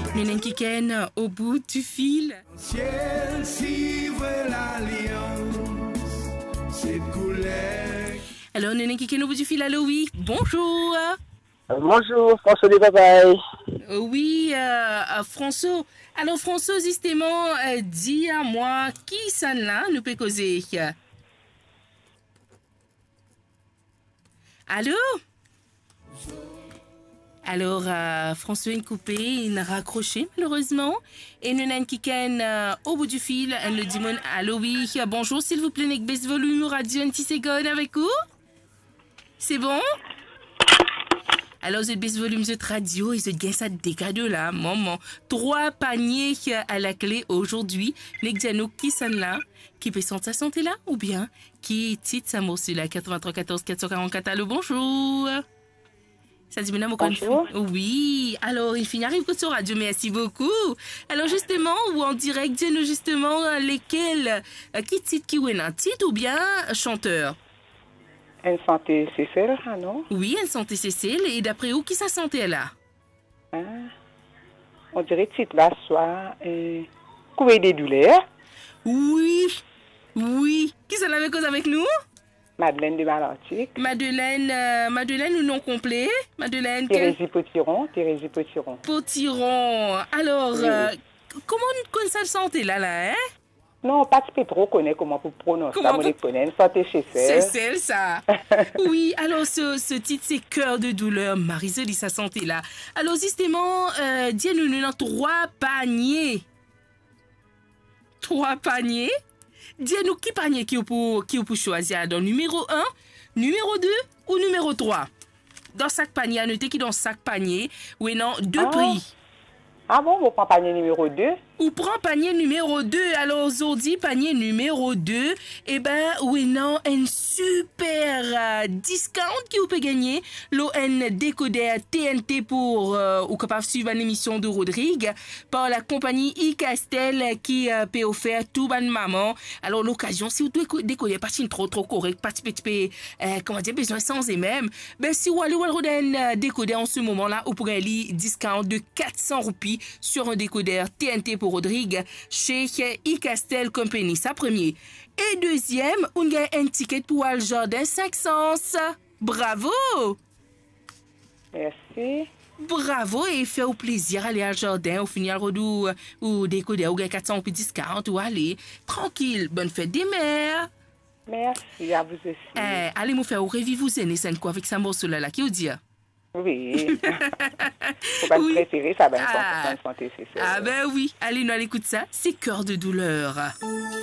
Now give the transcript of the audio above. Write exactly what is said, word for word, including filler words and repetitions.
Nou ena enn kikenn au bout du fil. Ciel, suivre l'alliance, cette couleur. Alors, nou ena enn kikenn au bout du fil. Allô, oui. Bonjour. Bonjour, François de Papay. Euh, oui, euh, euh, François. Alors, François, justement, euh, dis à moi, kisannla nou pe koze? Allô? Alors, euh, François inn koupe, inn rakrose, malerezman. E nou ena enn kikenn, euh, au bout du fil, enn lot dimoun. Allô, oui, bonjour, silvouple, nek bes volim ou radio enn ti segonn avek ou? C'est bon? Alors, zot bes volim zot radio e zot gagn sa de kado la, momon. Trwa panie, euh, à la clé aujourd'hui. Nek dir nou kisannla ki pe sant sa sante la, oubien ki tit sa morso la? Quatre-vingt-trois quatorze quatre cent quarante-quatre, allô, bonjour. Sa dimoun la, mo konn... Bonjour. Oui, alors, inn fini ariv kot so radio, merci beaucoup. Alors, justement, ou en direct, dir nou justement, euh, lekel, euh, ki tit ki ou ena, tit oubien chanteur? Enn sante Sesel, ah non? Oui, enn sante Sesel, e dapre ou, ki sa sante la? Hein? On dirait tit la, swa, euh, Courrier des douleurs. Oui, oui. Kisannla pe koz avek nou? Madeleine de Malartic. Madeleine, euh, Madeleine, ou nom konple? Madeleine ke? Thérésie Potiron, Thérésie Potiron. Potiron. Alors, oui, euh, oui. Kouma ou konn sa sante la, la, hein? Non, pa ti pe tro kone kouma pou prononse sa, mo konn enn sante Sesel. Sesel, sa. Oui, alors, ce, ce titre, c'est Cœur de douleur. Mari zoli sa sante la. Alors, justement, euh, dir nou, nou ena trwa panie. Trwa panie. Dir nou ki panie ki ou pou, ki ou pou swazir, dan nimero enn, nimero de ou nimero trwa. Dan sak panie, anote ki dan sak panie, ou ena de pri. Ah bon, mo pran panie nimero de. Ou pran panie nimero de. Alor, zordi, panie nimero de, e ben, ou ena enn super, euh, discount ki ou pe gagne lor enn dekoder T N T pour, euh, ou kapav swiv bann emision de Rodrig par la konpagni iCastel ki, euh, pe ofer tou bann mama. Alor, lokazion, si ou deko-, dekoder pa ti tro, tro korek, pa ti pe, ti pe, euh, kouma dir, bizin sanze mem, ben, si ou ale, ou al rod enn, euh, dekoder an se moman la, ou pou gagn li discount de quatre cents roupies sur un décodeur T N T pour Rodrig chez iCastel Company. Sa premie. E deziem, ou gagn enn tiket pou al zardin Cinq Sens. Bravo! Mersi. Bravo, e fer ou plezir, ale al zardin, ou fini al rod ou, ou dekoder, ou gagn quatre cents roupies discount, ou ale. Trankil, bonne fête des mères. Merci à vous aussi. Eh, ale, mo fer ou reviv ou zennes enn kou avek sa morso la, la, ki ou dir? Oui. Mo bann prefere sa, bann sanson, sanson, se, se... Ah ben oui, ale, nou al ekout sa, c'est Cœur de douleur.